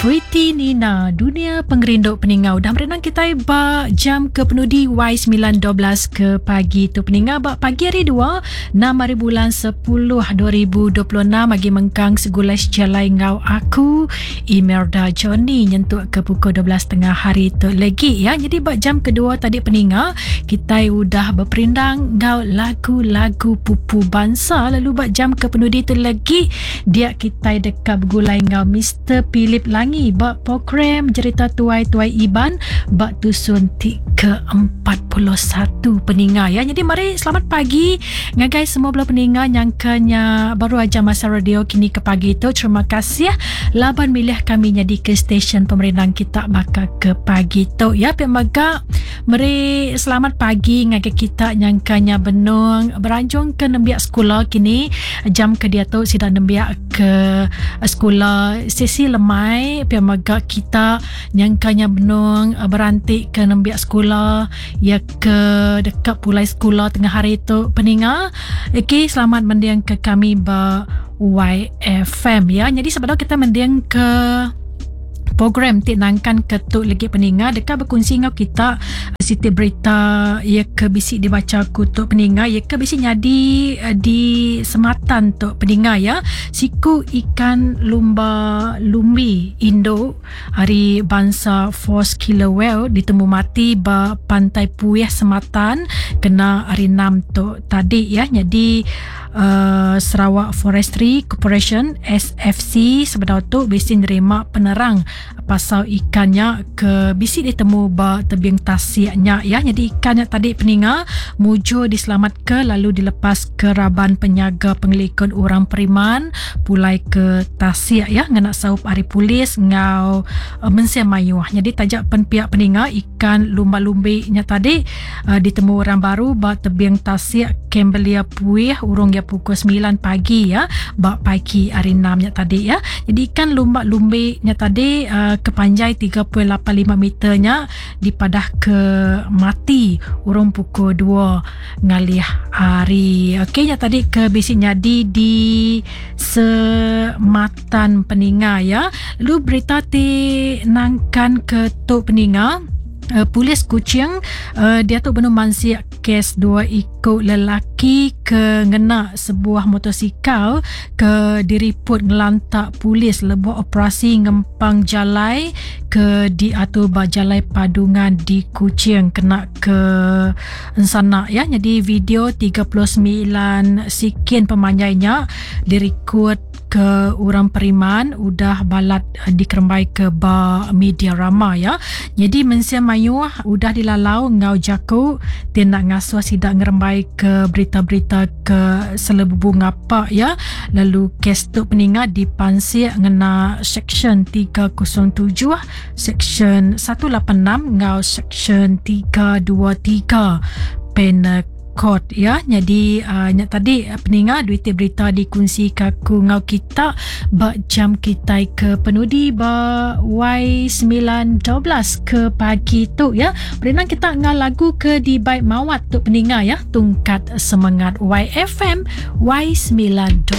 Pretty Nina, dunia pengerindu peninga udah merenang kitai ba jam ke penudi Y9.12 ke pagi tu peninga ba pagi hari 2 6 hari bulan 10 2026 agi mengkang segulai sejalai enggau aku Imelda Johnny nyentuk ke pukul 12.30 hari tu lagi ya. Jadi ba jam kedua tadi peninga kitai udah beperindang enggau lagu-lagu pupu bansa lalu ba jam ke penudi tu lagi dia kitai deka begulai enggau Mister Philip Langi ba program Jerita Tuai-Tuai Iban ba tusun ti ke-41 peninga ya. Jadi mari selamat pagi ngagai semua bala peninga nyangka nya baru aja masa radio kini ke pagi tu. Terima kasih laban milih kami nyadi ke stesen pemerindang kita baka ke pagi tu ya. Pia mega meri selamat pagi ngagai kita nyangka nya benung beranjung ke nembiak sekula kini jam ke diatu sida nembiak ke sekula sesi lemai pia mega kita nyangka nya benung beranti ke nembiak sekula ya ke deka pulai sekula tengah hari tu peninga. Okey selamat mending ke kami ba YFM ya. Jadi sebedau kita mending ke program ti nangkan ke tu legi peninga deka bekunsi enggau kita siti berita iya ke bisi dibacha aku tu peninga iya ke bisi nyadi eh, di Sematan tu peninga ya siku ikan lumba lumbi indu ari bansa Force Killer Whale ditemu mati ba Pantai Puih Sematan kena hari 6 tu tadi ya nyadi uh, Sarawak Forestry Corporation SFC sebedau tu bisi nerima penerang pasal ikan nya ke bisi ditemu ba tebing tasik nya ya. Jadi ikan nya tadi peninga mujur diselamatka lalu dilepas ke raban penyaga pengelikun orang periman pulai ke tasik ya ngena saup ari polis enggau uh, mensia mayuh. Jadi taja pen pihak peninga ikan lumba-lumbi nya tadi uh, ditemu orang baru ba tebing tasik Cambelia Puih urung iya pukul 9 pagi ya ba pagi hari 6 nya tadi ya. Jadi ikan lumba-lumbi nya tadi uh, ke panjai 3.85 meter nya dipadah ke mati urung pukul 2 ngalih hari. Okey nya tadi ke bisi nyadi di Sematan peninga ya. Lalu berita ti nangkan ke tu peninga uh, polis Kuching uh, dia tu benung mansik kes dua iku lelaki ke ngena sebuah motosikal ke diriput ngelantak polis lebuh operasi ngempang jalai ke diatur ba Jalai Padungan di Kuching kena ke ensana ya. Jadi video 39 sikin pemanjai nya dirikut ke orang periman udah balat eh, dikerembai ke ba media rama ya. Jadi mensia mayuh udah dilalau enggau jaku ti enda ngasuh sida ngerembai ke berita-berita ke selebubu ngapa ya. Lalu kes tu peninga dipansik ngena Seksyen 307, Seksyen 186 enggau Seksyen 323 Penal Code ya. Jadi uh, nya tadi uh, peninga duit berita dikunsi ka aku enggau kita ba jam kitai ke penudi ba Y912 ke pagi tu ya. Perindang kita enggau lagu ke dibai mawat tu peninga ya. Tungkat semangat YFM Y912.